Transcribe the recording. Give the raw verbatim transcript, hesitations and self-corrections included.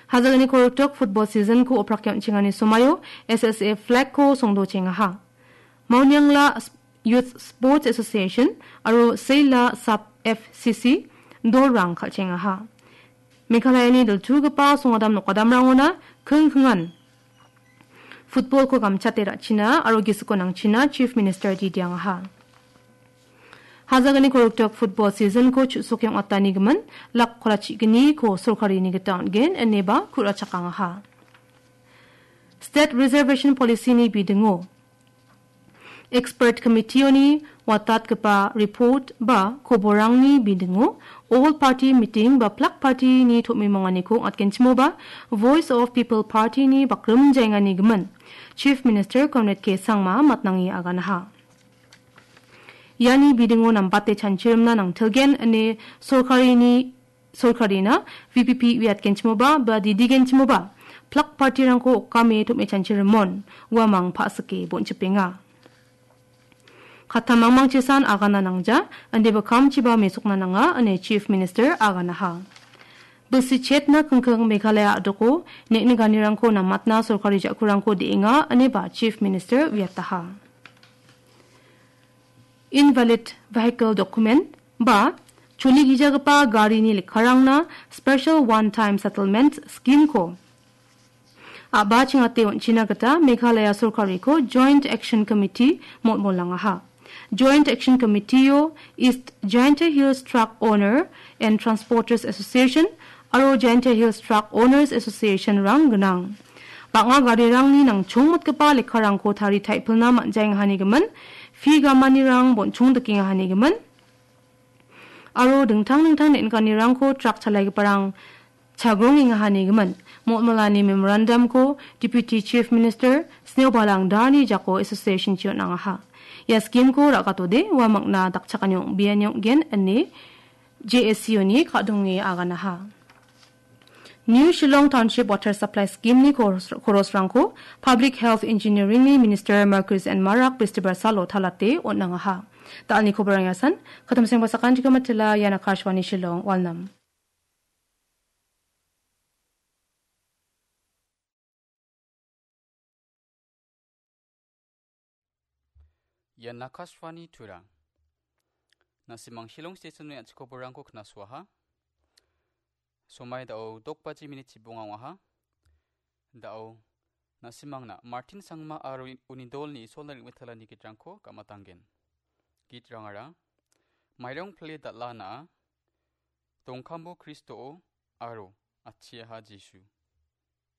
Hajalni koroktok football season-ko oprake on·chengani somaio S S A flag-ko songdochengaha. Mauniangla S-, Youth Sports Association aro Seila Sub F C C dolrang kal·chengaha. Meghalayani diltugipa songadam nokadamrangona kingkingan football-ko gamchate ra·china aro gisiko nangchina Chief Minister didiangaha. Hajalni koroktok football season-ko chu·soke ong·atanigimin lak kolachigni-ko sorkarini gita on·gen ineba ku·rachakangaha. State Reservation Policy-ni bidingo Expert Committee-oni watatgipa report ba koborangni bidingo All Party Meeting ba Plak Party-ni tom·imonganiko ong·atgenchimoba Voice of People Party-ni bakrimjaenganigimin Chief Minister Conrad K Sangma matnange aganaha. Iani bidingo nambate chanchirimna nangtilgen ine sorkarini, sorkarina V P P uiatgenchimoba ba didigenchimoba Plak Party-rangko okame tom·e chanchirimon uamang pa·sike bonchipenga. Kattam mangmangchisan agana nangja, indiba kamchiba mesokna nanga ine Chief Minister aganaha. Bilsi chetna kingking Meghalaya a·doko neng·nikanirangko namatna sorkari ja·kurangko de·enga ineba Chief Minister uiataha. Invalid vehicle document ba choligijagipa garini lekkarangna Special One Time Settlement Scheme-ko a·ba chingate on·china gita Meghalaya sorkariko Joint Action Committee molmolangaha. Joint Action Committee-o East Jaintia Hills Truck Owner and Transporters Association aro Jaintia Hills Truck Owners Association-rang gnang. Bang·a garirangni nangchongmotgipa lekkarangko tari taipilna man·jaengahanigimin, fee gamanirang bonchong dikengahanigimin, aro dingtang dingtang neng·nikanirangko truck chalaigiparang chagrongengahanigimin, molmolani memorandum-ko Deputy Chief Minister Sneobala Angdarni jako association-chi on·angaha. Ia scheme-ko ra·gatode uamangna dakchakani ong·biani ong·gen ine J S C O-ni ka·donge aganaha. New Shillong Township Water Supply Scheme-ni koros-, korosrangko Public Health Engineering-ni Minister Marcuise N Marak Bistibar salo talate on·angaha. Da·alni koborang iasan, katamseng basakan jika matila, ian Akashvani Shillong, Walnam. Ian Akashvani Tura. Na·simang Shillong Station-ni an·ching koborangko knasoaha. Somai da·o dok baji minit chibonga ong·aha. Da·o na·simangna Martin Sangma aro uni dolni Isolna ring·metalani gitrangko gam·atanggen. Gitrangara, Mairong pile dal·a na·a, Dongkambo Kristoa aro Atchiaha Jisu.